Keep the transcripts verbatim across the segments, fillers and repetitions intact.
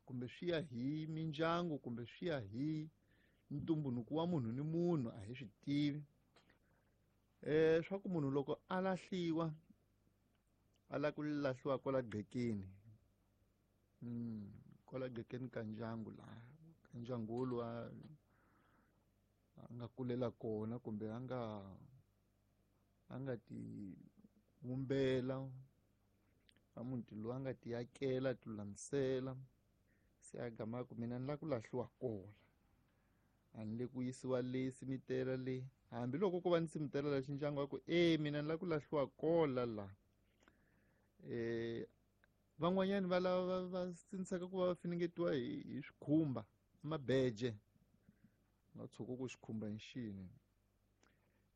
Kumbe swi ya hi mindyangu kumbe swi ya hi ntumbuluko wa munhu ni munhu a hi swi tivi. Eh swa ku munhu loko a lahliwa a lava ku lahliwa kwala gqekeni. Mm, kwala gqekeni ka ndyangu laha, ka ndyangu woluwa a nga kulela kona kumbe a nga a nga ti vumbela a muti lowu a nga ti akela ti lulamisela se a gama ku mina ni lava ku lahliwa kona a ni le ku yisiwa le simitela le hambiloko ko va ni simitela la xindyangu wa ku e mina ni lava ku lahliwa kola la eh van'wanyani va lava va sindzisaka ku va va finingetiwa hi hi swikhumba mabeje nga tshuka ku xikhumba hi xini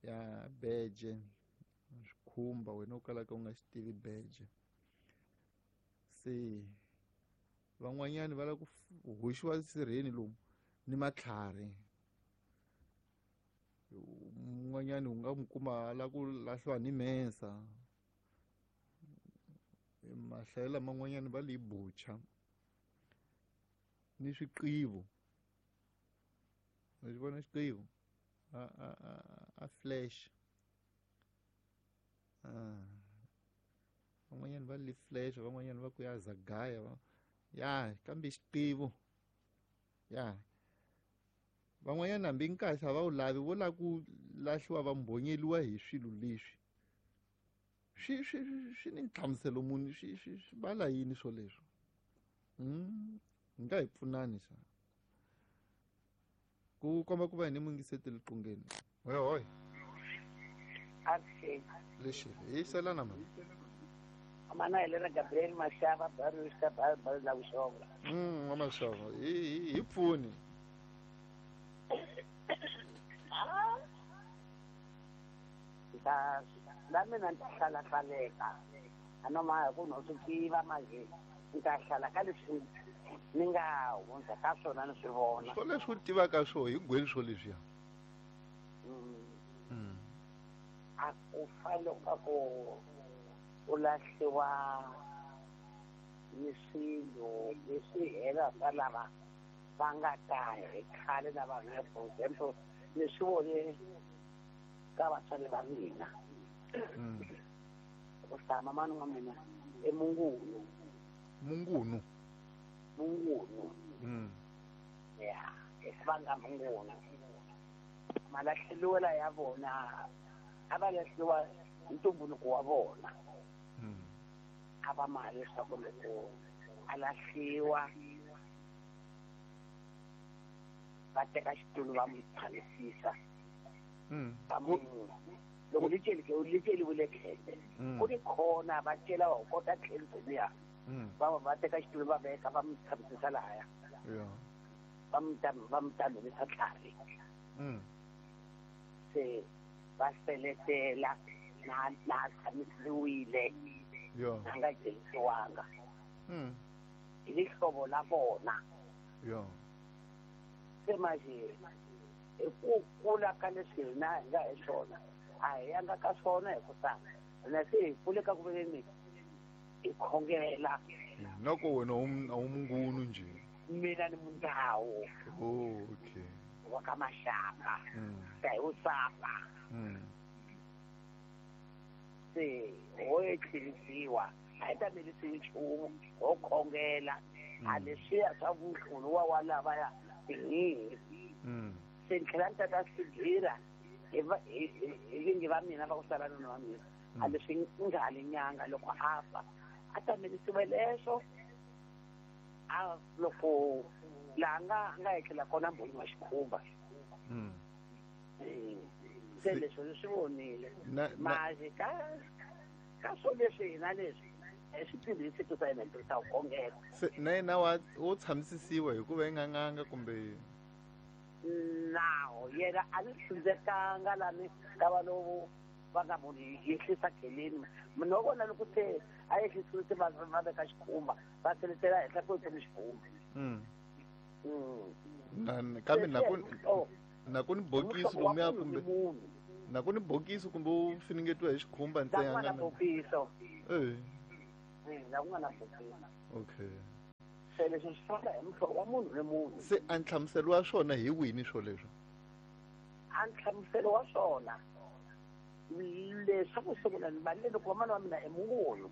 ya beje swikhumba wena u kalaka u nga xi tivi beje se van'wanyani va lava ku hoxiwa sirheni lomu ni matlhari un'wanyani u nga n'wi kuma a lava ku lahliwa ni mensa mahlayelo man'wanyani va li bucha ni swiqivo u xi vona xiqivo a a a a flash van'wanyani va li flash van'wanyani va ku ya zagaya ya kambe xiqivo ya van'wanyana hambi nkahle a va wu lavi vo lava ku lahliwa va mbhonyeliwa hi swilo leswi swi swi swi ni nhlamuselo muni swi swi swi vala yini swoleswo mm hi nga hi pfunani xa ku komba ku va hi ni mungiseteli qungeni hoy hoy lexi hi selana mani mana Helena Gabriel Mashava Barusta Bar la Vuxonga mm wa Mashava hi hi pfuni ta la mina ni ta hlalahlaleka a no ma ku no swi tiva manje ni ta hlala ka leswi ni nga hundza ka swona ni swi vona swo leswi u tivaka swo hi gweni swo leswiya a ku fanele ka ku u lahliwa ni swilo leswi hela swa lava va nga ta hi khale na vanhu for example ni swi vone ka vatswari va mina ku hlaya mani wa mina i Mungunu Mungunu Mungunu ya va nga Mungunu malahleliwela ya vona a va lahliwa ntumbuluko wa vona a va mali leswaku loko a lahliwa va teka xitulu va n'wi tshamisisa va mu loko li celike li celiwile khele ku ni khona va cela va kota tlhelo liya va va teka xitulu va veka va n'wi tshamisisa lahaya va n'wi va n'wi tamelisa tlhari se va seletela na na tshamisiwile a nga celisiwanga hi lihlovo la vona se manje hi ku kula ka leswi hina hi nga hi swona a hi yanga ka swona hi ku ta hina se hi kule ka ku veni hi khongela nako wena a wu Mungunu nje mina ni Mundhawu oh okay wa ka Mashava ta hi Usapa se ho etlhelisiwa a hi tamelisiwi nchumu ho khongela a leswiya swa vuhlulu wa wa lavaya tinhihi se ni tlhela ni tata swigira hi hi vingi va mina va ku sala nuna wa mina a leswi nga li nyanga loko a fa a tamelisiwe leswo a loko laha nga nga etlela kona mbhoni wa xikhumba se leswi ni swi vonile manje ka ka swo leswi hina leswi hi swi tirhisi ku sa hina hi tirhisa ku khongela se na yena wa wo tshamisisiwa hikuva i nga n'anga kumbe nawo yena a ni hlundzekanga lani ka va lowu va nga munhu yehlisa kheleni munhu wa vona loko se a yehlisiwe se va va veka xikhumba va seletela henhla ku ni xikhumba kambe na ku na ku ni bokisi lomuya kumbe na ku ni bokisi kumbe u finingetiwa hi xikhumba ntsena na bokiso eh na ku nga na bokisi okay Se leswi swi famba hi muhlovo wa munhu ni munhu. Se a nhlamuselo wa swona hi wini swoleswo? A nhlamuselo wa swona leswaku sungula ni valele loko vamana wa mina i mungoni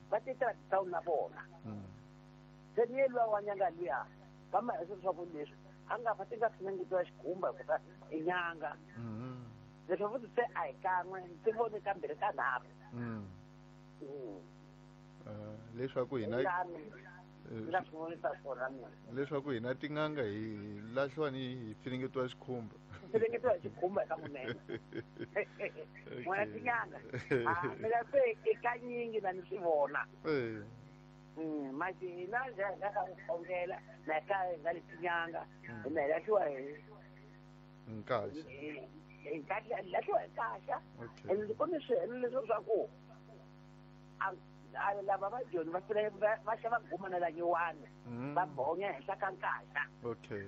va titela titawuni na vona. Se ni ye luya wa nyanga luya va ma hesa leswaku leswi a nga fa ti nga finengetiwa xikhumba hikuva i nyanga. Leswi futhi se a hi kan'we ndzi vone kambirhi ka nharhu. Leswaku hina nga swi vonisa swona mina. Leswaku hina tin'anga hi lahliwa ni hi finengetiwa xikhumba. Finengetiwa hi xikhumba eka munene. N'wina tin'anga. Ah, mina se i kanyingi na ni swi vona. Mati hina njhe hi nga ka ku khongela na ka hi nga le tin'anga hina hi lahliwa hi nkaxa. Hi lahliwa hi nkaxa. Ene ku ni swihelo leswi swa ku a lava va joni va fela va xava guma na la nyiwani va bonya henhla ka nkaxa. Okay.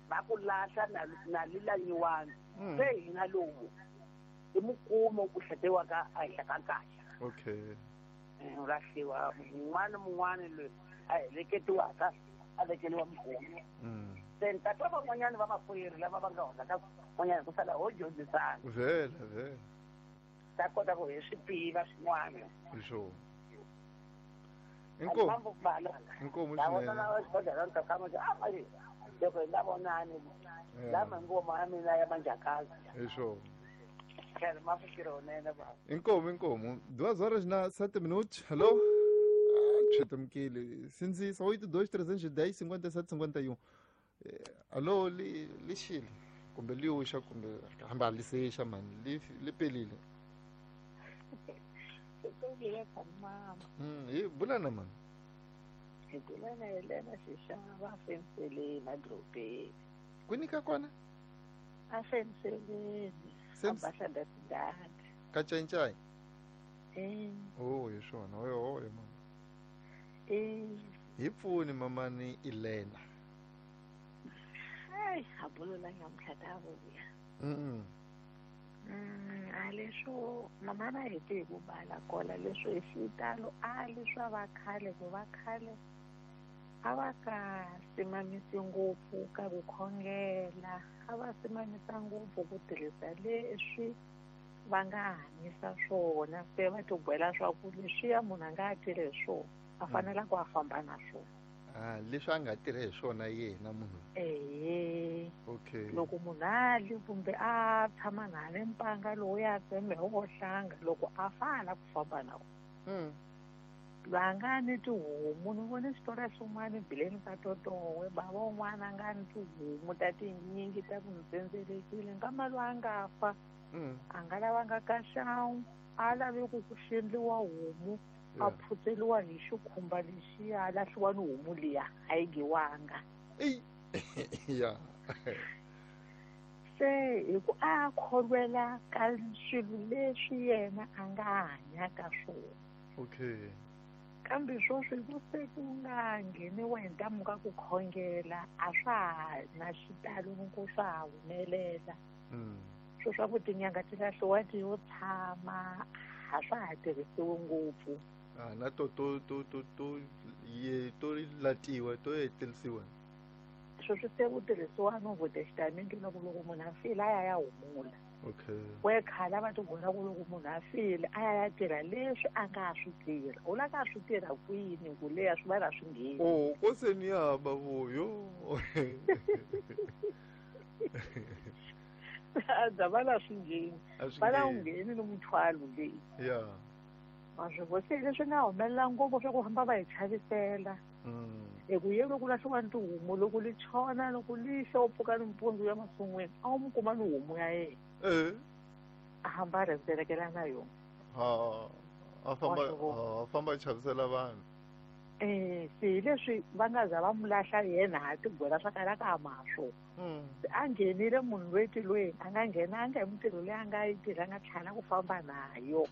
Va ku lahla na na lila nyiwani. Se hina lowu i mukumo ku hletiwaka ehenhla ka nkaxa. Okay. U lahliwa mun'wana mun'wana loyi a heleketiwaka a vekeliwa mukumo. Se ni ta twa van'wanyana va makwerhu lava va nga hundza ka van'wanyana ku sala ho dyondzisana. Vhela vhela. Ta kota ku hi swi tiva swin'wana. Hi swona. Inkomu. Inkomu swinene. Loko hi nga vonani lama ngoma ya mina ya manjhakazi. Hi swona. Khale mafikiro nene ba. Inkomu inkomu. Duas horas na sete minutos. Hello. Chetamkile. Sinzisa oito dois trezentos e dez cinquenta e sete cinquenta e um. Alô, li lixile. Kumbe liusha kumbe hamba lisesha mani li lipelile. Mm, e bulana mani. Bulana Helena Xixava afenseleni edorobeni. Kwini ka kona? Afenseleni. Abahlanda tidadi. Ka Cancai? Eh. Oh, hi swona. Oyo oyo mama. Eh. Hi pfuni mamani Elena. Ai, abulo la nyamutlha ta vuya. Mm. Mm, a leswo mama na hete hi ku bala kola leswo hi xitalo a leswa va khale ku va khale a va ka simamisi ngopfu ka ku khongela a va simamisa ngopfu ku tirhisa leswi va nga hanyisa swona se va tibyela swa ku leswiya munhu a nga tirhi hi swona a fanela ku a famba na swona. Ah, leswi a nga tirhi hi swona yena munhu. Eh. Okay. Loko munhu a li kumbe a tshama na le mpanga lowu ya tseme wo hlanga loko a fana ku famba na wona. Mm. Va nga ni tihomu ni vone xitori xin'wana bileni ka Totowe bava un'wana a nga ni tihomu ta tinyingi ta ku ntsendzelekile nkama loyi a nga fa a nga lavanga ka xawu a lave ku ku xendliwa homu a phutseliwa hi xikhumba lexiya a lahliwa ni homu liya a yi giwanga. Ya. Se hi ku a kholwela ka swilo leswi yena a nga hanya ka swona. Okay. Kambe sweswi ku se ku nga ngheniwa hi ntamu ka ku khongela a swa ha na xitalo ni ku swa ha humelela. Swo swa ku tinyanga ti lahliwa ti yo tshama a swa ha tirhisiwi ngopfu. Ah, na to to to to to ye to latiwa to hetelisiwa. Sweswi se ku tirhisiwa no votestamenti loko loko munhu a file a ya ya humula. Okay. We khale va tivona ku loko munhu a file a ya ya tirha leswi a nga swi tirha. U la ka swi tirha kwini ku leya swi va swi ngheni. Oh, ko se ni ya ba vuyo. A va la swi ngheni. Va la ngheni ni muthwalo leyi. Yeah. Maswi se leswi nga humelela ngopfu swa ku famba va hi chavisela. Hi ku ye loko lahliwa ni tihomu loko li chona loko li xa u pfuka nimpundzu ya masun'wini a wu mu kuma ni homu ya yena. Eh. A hamba a rhendzelekela na yona. Ha a famba a famba a chavisela vanhu. Eh, se hi leswi va nga za va mu lahla yena ha tigwela swa kala ka ma swona. A nghenile munhu loyi tilweni a nga nghenanga hi mintirho leyi a nga yi tirha a nga tlhela ku famba nayo.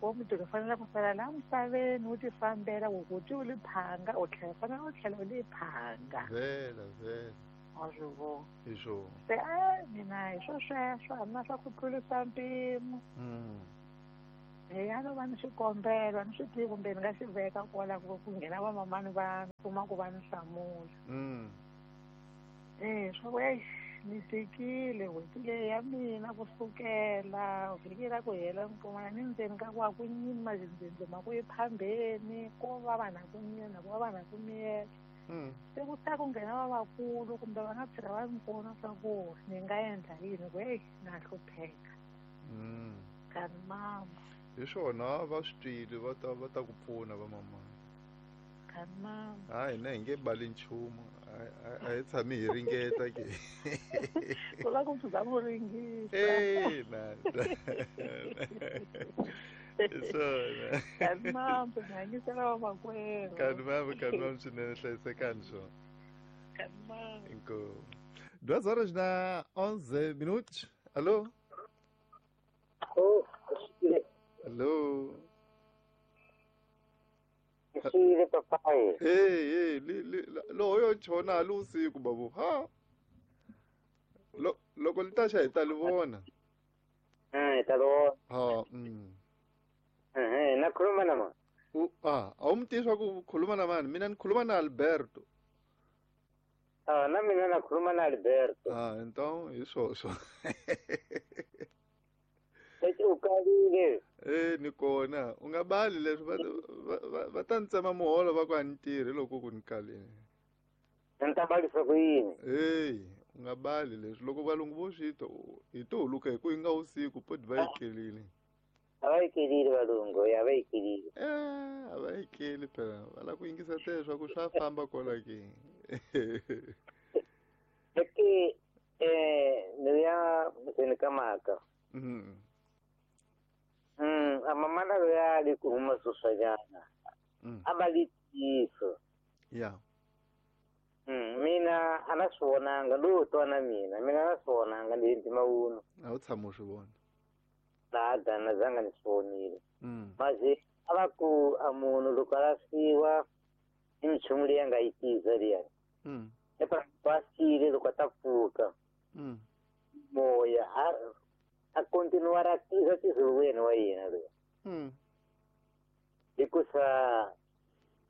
Wo mintirho fanele ku sala laha misaveni wu ti fambela ku ku ti u li phanga u tlhela fanele u tlhela u li phanga. Vhela vhela. Wa swi vona. Hi swona. Se a mina hi swo sweswo a na swa ku tlurisa mpimo. Ya no va ni xikombelo ni swi tivi kumbe ni nga xi veka kwala ku ku nghena vamamani va kuma ku va ni hlamula. Mm. Eh swa ku eish ni tikile n'hweti leyi ya mina kusukela vhiki ra ku hela ni kuma ni ndzeni ka ku a ku nyimi mazindzindzi ma ku yi phambeni ko va vanhu a ku nyina ku va vanhu a ku miyela. Mm. Se ku ta ku nghena vavakulu kumbe va nga tshika va ni pfuna swa ku ni nga endla yini ku eyi na hlupheka. Mm. Kani mama. Hi swona va swi twile va ta va ta ku pfuna va mamana. Kani mama. Hayi hina hi nge bali nchumu. A hi tshami hi ringeta ke. Ku la ku pfuka mu ringisa. Eh na. Hi swona. Kani mama mi hanyisela vamakwerhu. Kani mama kani mama swinene hlayisekani swona. Kani mama. Inkomu. Duas horas na onze minutos. Alô? Oh, Alô? Xile papai. Hey, hey, li li lo yo chona li usiku babu. Ha. Lo loko li ta xa hi ta li vona. Eh, ta vona. Ha, mm. Eh, na khuluma na mani? U ah, a wu mi tivi swa ku khuluma na mani? Mina ni khuluma na Alberto. Ah, na mina na khuluma na Alberto. Ah, então hi swoswo. Lexi u kalile. Eh, ni kona. U nga bali leswi va va va ta ni tsema muholo va ku a ni tirhi loko ku ni kalile. Ni ta balisa ku yini? Hey, u nga bali leswi loko valungu vo swi twa hi to huluka hi ku yi nga usiku poti va yi kelile. A va yi kelile valungu, ya va yi kelile. Eh, a va yi keli phela. Va lava ku yingisa tele swa ku swa famba kwala ke. Eke eh ni ya ndzeni ka mhaka. Mm. Mm, a mamana loyi a li ku huma sweswanyana. Mm. A va li ntiyiso. Yeah. Mm, mina a na swi vonanga lowu twa na mina mina a na swi vonanga ni ntima wuno. A wu tshama u swi vona. Na dana zanga ni swi vonile. Mm. Maze a va ku a munhu loko a lahliwa i minchumu leyi a nga yi tiza liya. Mm. Epa basile loko a ta pfuka. Mm. Moya a a continuar a tiza tiza wena wa yena loyi. Mm. Hikusa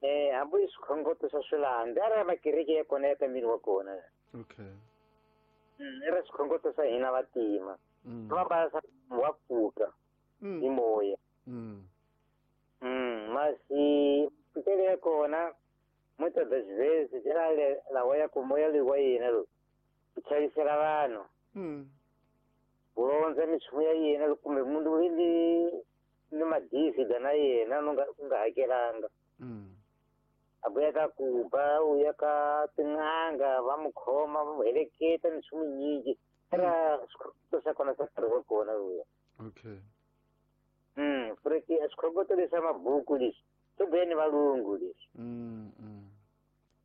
eh hambi swikhongoto swa swilandza a ri makereke ya kona ya ka miri wa kona. Okay. Mm, i ra swikhongoto swa hina vantima. Mm. Va basa wa pfuka Mm. hi moya. Mm. Mm, masi pfukele ya kona muitas das vezes era lawa ya ku moya loyi wa yena loyi ku chavisela vanhu. Mm. Ku rondza minchumu ya yena kumbe munhu loyi ni ni madizida na yena no nga u nga hakelanga. Mm. A vuya ka ku ba u ya ka tin'anga va mu khoma va mu heleketa minchumu yinyingi. Era swikhongoto swa kona swa nkarhi wa kona luya. Okay. Mm, porque swikhongoto leswa mabuku leswi swo vuya ni valungu leswi. Mm, mm.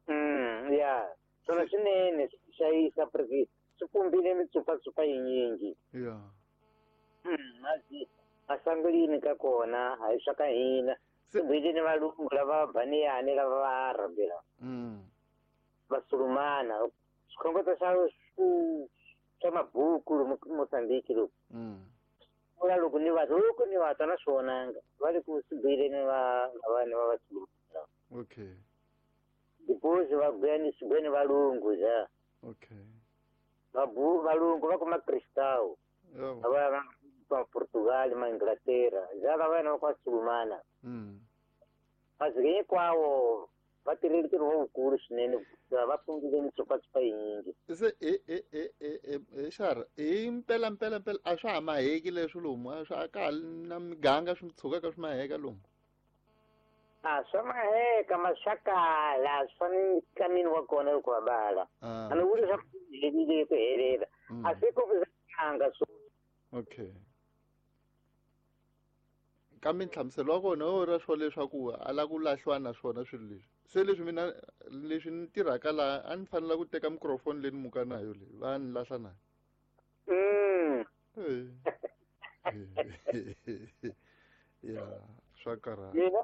Mm, ya swona swinene swi xayisa porque swi pumbile mitsupatsupa yinyingi. Yeah. Mm, masi masangulini ka kona a hi swa ka hina. Se Swi vuyile ni valungu lava baniyani lava va arabe lava. Mm. Vasulumana swikhongoto swa swa mabuku lomu Mozambique loku. Mm. Vula loko ni va loko ni va twa na swi vonanga va le ku swi buyeleni va vanhu va vasulumana. Okay. Depois va vuya ni swi vuya ni valungu ja. Okay. Vabu valungu va kuma Cristão. Yeah. Va va Portugal ma Inglaterra ja lava vana va vasulumana. Mm. Mas hinkwawo va tirhile ntirho wukulu swinene va pfungile mitsupatsupa yinyingi. Se e e e e e xara hi mpela mpela mpela a swa ha maheki leswi lomu a swa ka ha na miganga swi tshukaka swi maheka lomu. A swa maheka ma swa kala swi fane ka mini wa kona loko va bala. Ah. A ni vuli swa ku herile ku helela. Mm. A swi ku anga swo. Okay. Kambe nhlamuselo wa kona wo ra swo leswaku a lava ku lahliwa na swona swilo leswi. Se leswi mina leswi ni tirhaka laha a ni fanela ku teka microphone leyi ni muka na yo leyi va ni lahla na. Mm. Ya swa karhata. Mina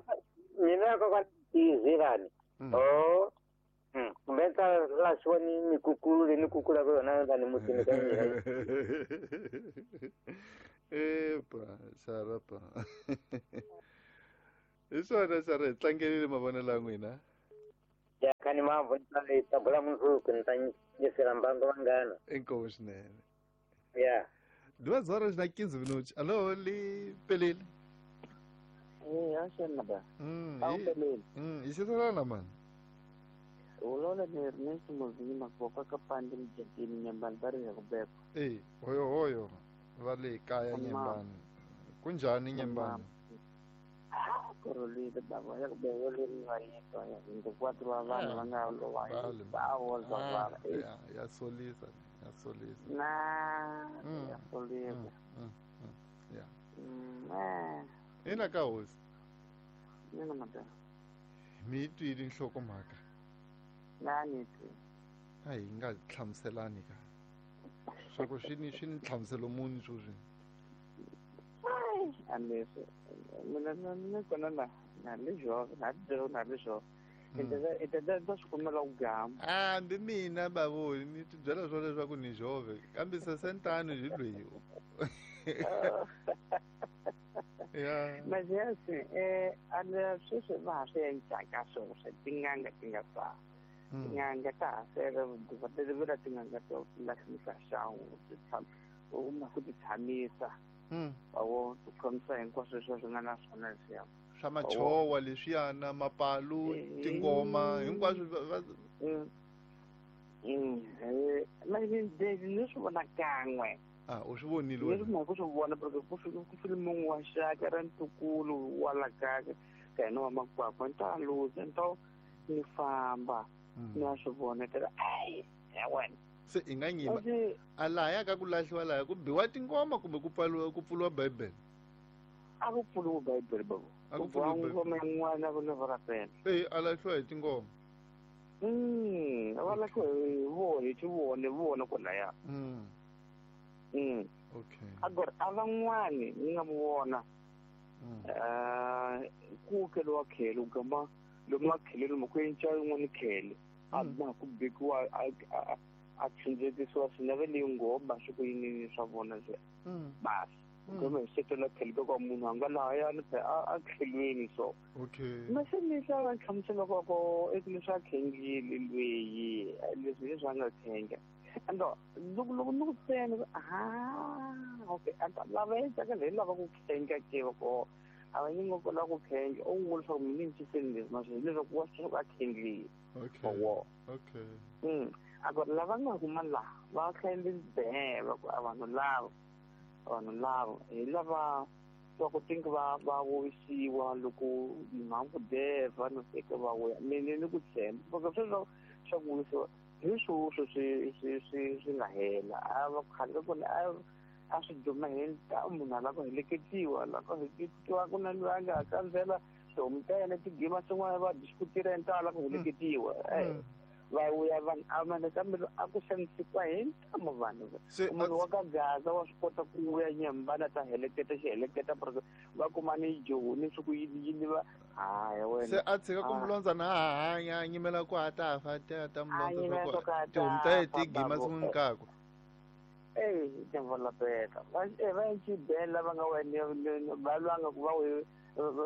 mina kokwana tizilani. Mm. Oh. Mm. Kumbe ta la na swi voni mikukulu leyi ni kukulaka yona lani mutini ka mina. Epa, sarapa. Hi swona sara hi tlangelile mavonelo ya n'wina. Ya khani mavhu ni ta bula mundzuku ni ta nyisela mbangu vanghana. Inkomu swinene. Ya. Duas horas na quinze minutos. Alô, li pelile. Eh, axana ba. Mm, pelile. Mm, isisalana man. Ulola ni Ernesto Mozima kutoka kapande mjini Nyambani bari ya kubekwa. Eh, hoyo hoyo. Va le kaya Nyambani. Kunjani Nyambani? Korolile baba ya kubekwa le va yitwa ya vinte e quatro wa vanhu va nga lo va va va va. Ya, ya solisa, ya solisa. Na, ya solisa. Ya. Mm. Ina ka hosi. Mina madam. Mi twile nhlokomhaka. Na ni twi. A hi nga hlamuselani ka. Swa ku swi ni swi ni nhlamuselo muni sweswi. Ai, amese. Mina na ni kona na na le jove, na le na le jove. Enta enta swi kumela ku gama. Ah, mbi mina bavo ni ti byela swo leswaku ni jove, kambe sesentano hi loyi. Ya. Mas é assim, é, a sweswi va ha swi endlaka swona swa tin'anga ti nga fa. Tin'anga ta ha sele va tin'anga to lahlisa xangu ti tshama u ma ku ti tshamisa. Awo ti khomisa hinkwaswo leswi swi nga na swona leswiya. Swa machowa leswiyana mapalu tingoma hinkwaswo mm mm ni swi vona kan'we. Ah, u swi vonile wena? Leswi na ku swi vona porque ku fike ku file munhu wa xaka ra ntukulu wa la kaya ka hina wa makwakwa ni ta luza ni ta ni famba ni ya swi vona ta ai ya wena. Se i nga nyima a lahaya ka ku lahliwa lahaya ku biwa tingoma kumbe ku pfaliwa ku pfuriwa bibele? A ku pfuriwa bibele babo. A ku pfuriwa ngoma yin'wana ku ni varapela. Eh, a lahliwa hi tingoma. Mm, a va lahliwa hi vona hi tivone vona kwalaya. Mm. Mm. Okay. Agora a van'wani ni nga mu vona eh ku keliwa khele u gama lomu makhele lomu ku enca yin'wana khele a ma ku bekiwa a a tshindzekisiwa swinene leyi ngoma swi ku yini swa vona se basi gama hi setela khele ka munhu a nga lahayani a khelweni so. Okay. Mase ni swa va nhlamusela ko ko eku leswi a khengile lweyi leswi leswi a nga khenga. Ando loko loko ni ku tsena ah okay ando lava endlaka leyi lava ku khenga ke ko a va nyingo ko lava ku khenga u vula leswaku mina ni ciseni leswi maswi hileswaku wa swi a khengile. Okay. Okay. Mm. Agora lava nga kuma laha va khende be va ku a vanhu lava vanhu lava hi lava va ku tinga va va wisiwa loko mhangu deva no fika va wuya mina ni ku tshemba porque sweswo swa ku wisiwa hi sweswo swi swi swi swi nga hela a va khale kona a a swi duma hi ta munhu a lava ku heleketiwa lava ku heleketiwa ku na loyi a nga kandzela tihomu ta yena tigima swin'wana va diskutira ni ta lava ku heleketiwa va vuya vanhu a mane kambe a ku xanisiwa hi ntamu vanhu munhu wa ka Gaza wa swi kota ku vuya Nyambana ta heleketa xi heleketa porque va kuma ni joni swi ku yini yini va haya wena se a tshika ku mulondza na ha hanya a nyimela ku a ta fa ta ta mulondza swa ku tihomu ta yena ti gima swin'wana kakwe. Eh, tivolapeka va va xibela va nga wena va lwanga ku va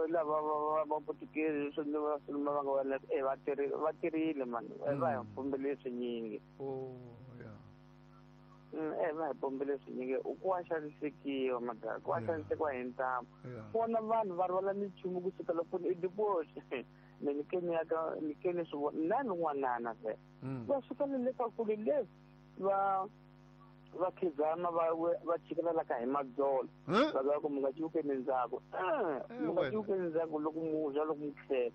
lava va va Portuguese swi va swi va nga wena eh va tirhile va tirhile mani va hi pombele swinyingi. Oh yeah. Mm, eh va hi pombele swinyingi u ku wa xanisekiwa madala ku wa xanisekiwa hi ntamu vona vanhu va rhwala minchumu kusuka loko i diposi me ni keni ya ka ni keni swi vona na n'wanana se va suka le ka kule le va va khizama va va chikela la ka hi madzolo va va ku mi nga ciukeni ndzhaku mi nga ciukeni ndzhaku loko mu dya loko mu tlhela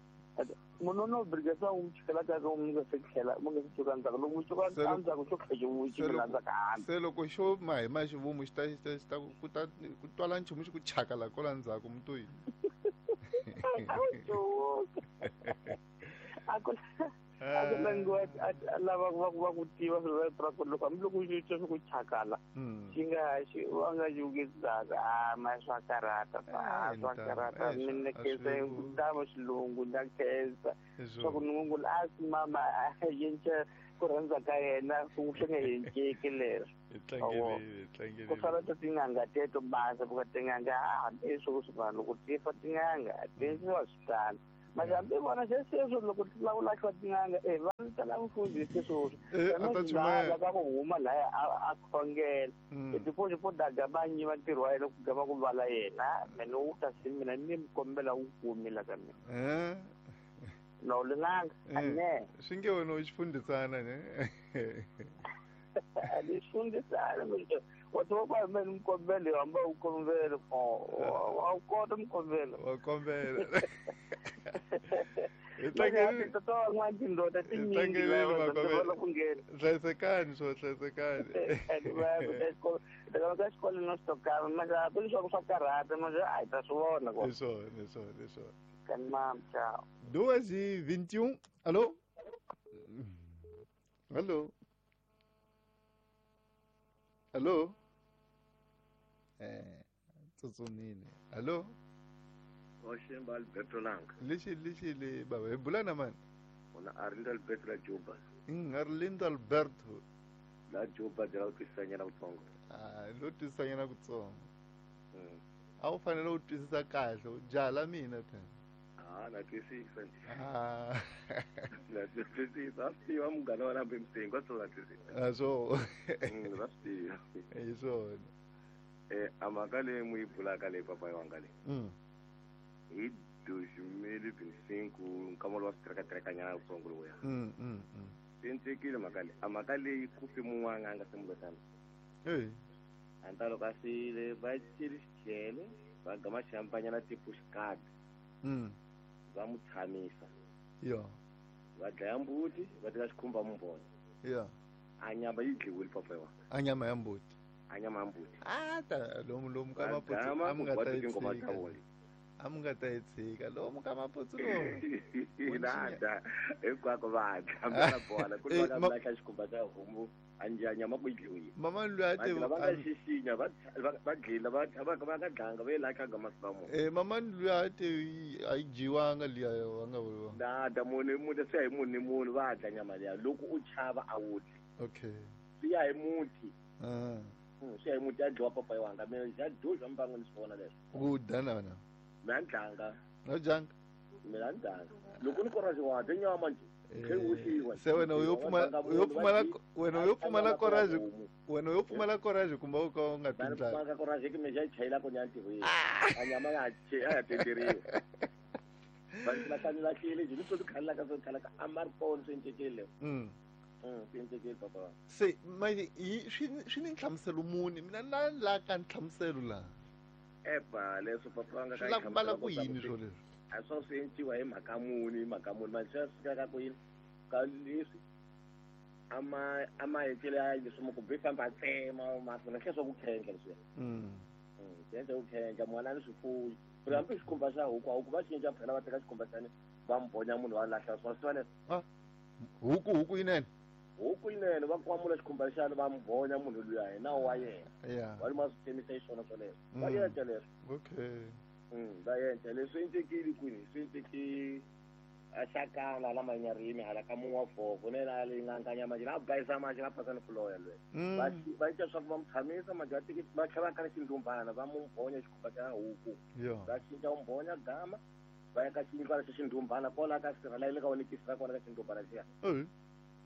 munhu no brigesa u chikela ka ka mi nga se tlhela mi nga se ciuka ndzhaku loko mu ciuka ndzhaku xo tlhela xi chikela ndzhaku hambi se loko xo ma hi ma xivumu xi ta xi ta xi ta ku ta ku twala nchumu xi ku chaka la kola ndzhaku mutoyi a ku A ku langiwa a lava va va ku tiva swilo swa ku loko hambiloko xi twa swa ku chakala xi nga xi va nga yukisaka a ma swa karata a swa karata mina khensa tama xilungu na khensa swa ku nungula a swi mama a yenca ku rhandza ka yena ku swi nga yenceki leswo ku sala ta tin'anga teto basa ku tin'anga hambi swo swi vanhu loko ti fa tin'anga ti endliwa swi tano mara hambi vona se sweswo loko ti lava ku lahliwa tin'anga e va tala mufundhisi sweswo la ka ku huma laya a khongela tipoxo po daga va nyiva ntirho wa yena ku gama ku vala yena mene wu ta si mina ni mi kombela wu kumi la ka mina no linanga ane swi nge wena u xifundhisana ne ni xifundhisana wa tiva ku mene mikombelo hamba u kombela wa kota mikombelo wa kombela hlayisekani swo hlayisekani ka xikolo no xitokana mara leswaku swa karhata mara a hi ta swi vona hi swona hi swona hi swona kan mam ciao duas e vinte e um alô alô alô eh tsutsumile alô Oshemba Alberto Langa. Lexi lexi le baba hi bula na mani? Una Arlindo Alberto la Juba. Mm, Arlindo Alberto. La Juba de la twisisanyana kutsongo. Ah, lo twisisanyana kutsongo. Mm. A wu fanele u twisisa kahle, u jala mina phela. Ah, na twisisa. Ah. Na twisisa. A swi tiva munghana wa nambe msengo, a swi na twisisa. A swo. Mm, va swi tiva. Hi swona. Eh, a mhaka leyi mu yi bulaka leyi papa wanga leyi. Mm. Hi dois mil e vinte e cinco nkama lowa swi trekatreka-nyana kutsongo lowuya. Mm, mm, mm. Swi endlekile mhaka leyi. A mhaka leyi ku fi mun'wana a nga se mulotana. Hey. A ni ta loko a file va celi xichele va gama xihampanyana tipo xikadi. Mm. Va mu tshamisa. Yo. Va dlaya mbuti va teka xikhumba mumbonya. Yo. A nyama yi dliwile papa wa. A nyama ya mbuti. A nyama ya mbuti. A ta lomu lomu ka maputsu a mi nga ta yi tshika. A mi nga ta yi tshika lomu ka maputsu lomu. Nada hinkwako va dya va bola ku ri va lahla xikhumba xa homu a njya nyama ku yi dliwile. Mama luya a te va nga xixinya va va dlila va va va nga dlanga va yi lahla ga masiku mo. Eh mama luya a te a yi dyiwanga liya va nga vuriwa. Nada munhu munhu swi ya hi munhu ni munhu va dya nyama liya loko u chava a wu dyi. Okay. Swi ya hi muti. Ah. Swi ya hi muti ya dyiwa papa wanga mina xa dyo mbango ni swi vona leswo. Ku dya na wena. Mina ni dlanga. No dyanga. Mina ni dlanga. Loko ni courage wa dya nyama nje. Se wena u yo pfumala u yo pfumala wena u yo pfumala courage wena u yo pfumala courage kumbe u ka u nga twi ndlala. Pfumala courage ki mina xa chayela ku nya ntirhweni. A nyama ya che a ya tenderiwa. Vanhu va hlani lahlile nje ni swo khala ka swo khala ka a ma ri kona swi encekile. Mm. Mm, swi encekile papa. Se manje swi swi ni nhlamuselo muni mina na la ka nhlamuselo la. Epa leswo papa wanga ka swi la ku yini swo leswi? A swo swi enciwa hi mhaka muni hi mhaka muni manje swi fika ka ku yini ka leswi ama ama encele ya leswi mo ku be famba tsema ma swi hle swa ku khendla leswi. Mm. Mm, swi ku khendla mwana ni swifuyi. Phela hambi xikhumba xa huku a huku va cinca phela va teka xikhumba xani va mbonya munhu wa lahla swa swi leswi. Ah. Huku huku yinene. Huku yinene va kwamula xikhumba xani va mbonya munhu luya hi nawu wa yena. Yeah. Va luma swi tsemisa hi swona swoleswo. Va endla leswo. Okay. Mm, va endla leswi endlekile kwini swi endleke a xakana la manyarimi hala ka mun'wa vhoko ne la leyi nga nyama manje la bayisa manje la phasa ni fuloya lwe. Va va endla swa ku va mu tshamisa manje va teki va tlhela va kala xindumbana va mu mbonya xikhumba xa huku. Va cinca mbonya gama va ya ka xindlwana xa xindumbana kwala ka sirha la le ka wona kisi ra kona ka xindumbana xiya. Mm.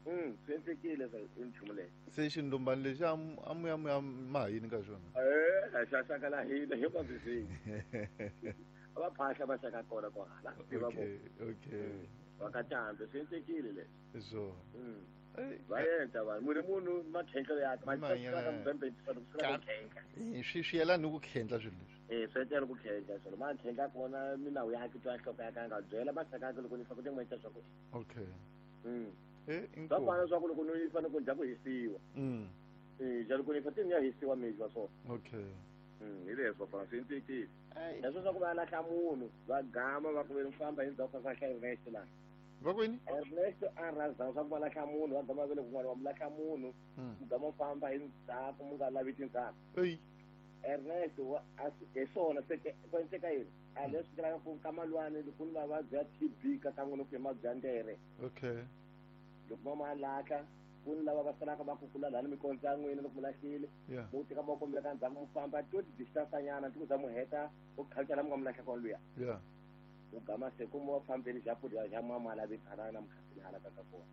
Mm, swi endlekile swa i nchumu leyi. Se xindumbana lexi a mu ya mu ya ma yini ka xona? Eh, a xa xaka la hina hi va va phahla va xaka kona kwahala. Okay, okay. Va ka cambe swi endlekile leswi. Swona. Mm. Va endla vanhu munhu munhu makhendlelo ya ma ka mubembe swi ku khendla. Swi swi yelana ni ku khendla swilo leswi. Eh, swi endlela ku khendla swilo ma khendla kona minawu ya twa nhloko ya ka nga byela maxaka yakhe loko ni fa ku tin'we swa ku. Okay. Mm. Eh, swa fana swa ku loko ni fanele ku dya ku hisiwa. Mm. Eh, ja loko ni fa ti ya hisiwa mizwa so. Okay. Mm, hi leswo fana swi endlekile. Leswo swa ku va lahla munhu va gama va ku ve famba hi ndzhaku ka hlaya rest la. Va kwini? Ernesto a rhandza swa ku va lahla munhu va gama vele kun'wana va mu lahla munhu mu gama famba hi ndzhaku mu nga lavi tindzhaku. Ernesto hi swona se ku endleka yini a leswi vulaka ku ka malwani ku ni mavabyi ya T B ka kan'we ku hi mavabyi ya ndere. Okay. Loko ma ma lahla ku ni lava va salaka va kukula lani mikondzo ya n'wina loko mu lahlile mu teka ma kombela ka ndzhaku mu famba to ti-distance nyana ti ku za mu heta u khalutela mu nga mu lahla kona luya. Yeah. U gama se ku mu fambeni xa pfurha xa mama lavi khala na mukhanseli hala ka ka kona.